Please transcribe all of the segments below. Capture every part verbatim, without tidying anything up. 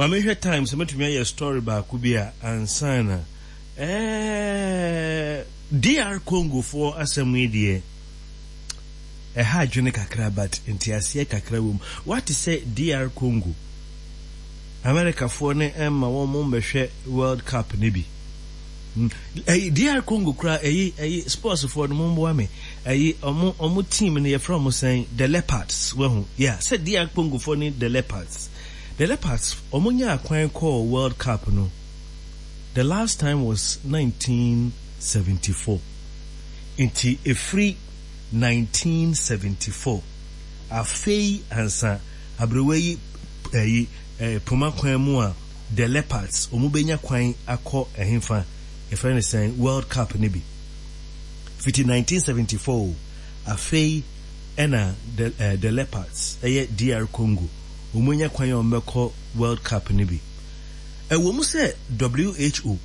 Ma mehwɛ time sɛ mɛtumi ayɛ story baako bi a ansa na ɛɛ D R Congofoɔ asɛm yi deɛ, ɛha adwene kakra, but nteaseɛ kakra wɔ mu. Wate sɛ D R Congo, Americafoɔ ne ɛma wɔn mo mbɛhwɛ World Cup ne bi. Ɛyi D R Congo kora, ɛyi ɛyi sportsfoɔ no, mo mboa me. Ɛyi ɔmo ɔmo team no, yɛfrɛ ɔmo sɛn? The Leopards. Wɔho yeah, sɛ D R Congofoɔ ne the Leopards the Leopards ɔmo nya akwan kɔɔ World Cup no, the last time was nineteen seventy-four. Nti efiri nineteen seventy-four afei ansa aberewa yi ɛyi ɛɛ poma kwan mu a the Leopards ɔmo benya kwan akɔ ɛhenfa, yɛfrɛ no sɛn, World Cup ne bi. Fiti nineteen seventy-four afei ɛna the uh, the Leopards, ɛyɛ D R Congo, wɔn anya kwan a wɔn bɛkɔ World Cup ne bi. Ɛwɔ mu sɛ W H O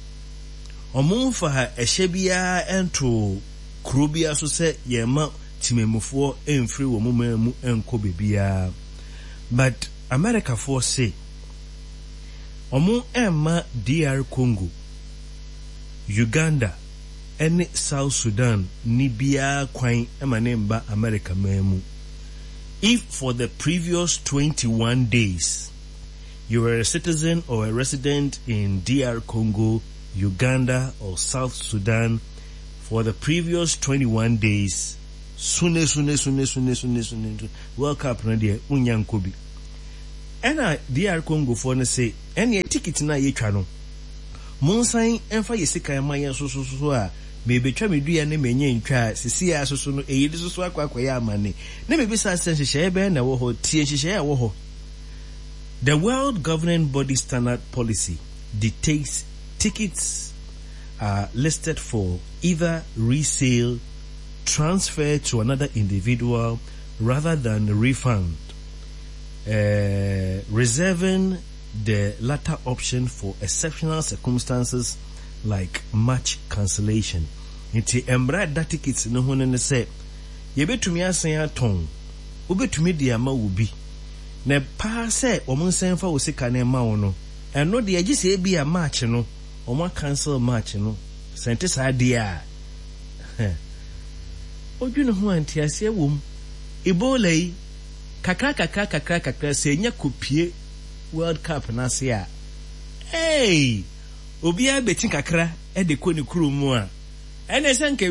wɔn mfa ɛhyɛ biara ɛnto kuro biara so sɛ yɛn temamufoɔ mfiri wɔn man mu nkɔ beebiara, but Americafoɔ se wɔn mma D R Congo, Uganda ɛne South Sudan ni biara kwan ma ne mba America man mu if for the previous twenty-one days you were a citizen or a resident in D R Congo, Uganda or South Sudan for the previous twenty-one days. Sune sune sune sune sune sune, World Cup no deɛ, wonya nkɔ bi. Ɛna D R Congofoɔ no se ɛneɛ ticket no a yɛtwa no, monsan ɛmfa yɛ sika ma yɛn so so so a mebɛtwa me dua ne menyɛ ntwa a sisi a soso no ɛyi de soso akɔ akɔyɛ amane na mebisa sɛ nhyehyɛeɛ bɛn na ɛwɔ hɔ? Tie nhyehyɛeɛ a ɛwɔ hɔ. The World Governing Body Standard Policy dictates tickets are listed for either resale, transfer to another individual rather than refund, uh, reserving the latter option for exceptional circumstances like match cancellation. Nti mmara da tickets no ho no ne sɛ yɛbɛtumi asan atɔn, wobɛtumi de ama wo bi na paa sɛ wɔn nsan fa wo sika no ma wo no, ɛno deɛ gye sɛ ebi a match no wɔn acancel match no. Sɛ nte saa deɛ a, odwene ho a nteaseɛ wɔ mu. Ebola yi kakra kakra kakra kakra sɛ enya kopie World Cup n'ase a, hey, obiara bɛti kakra de kɔ ne kurom mu a ɛnna sɛ nka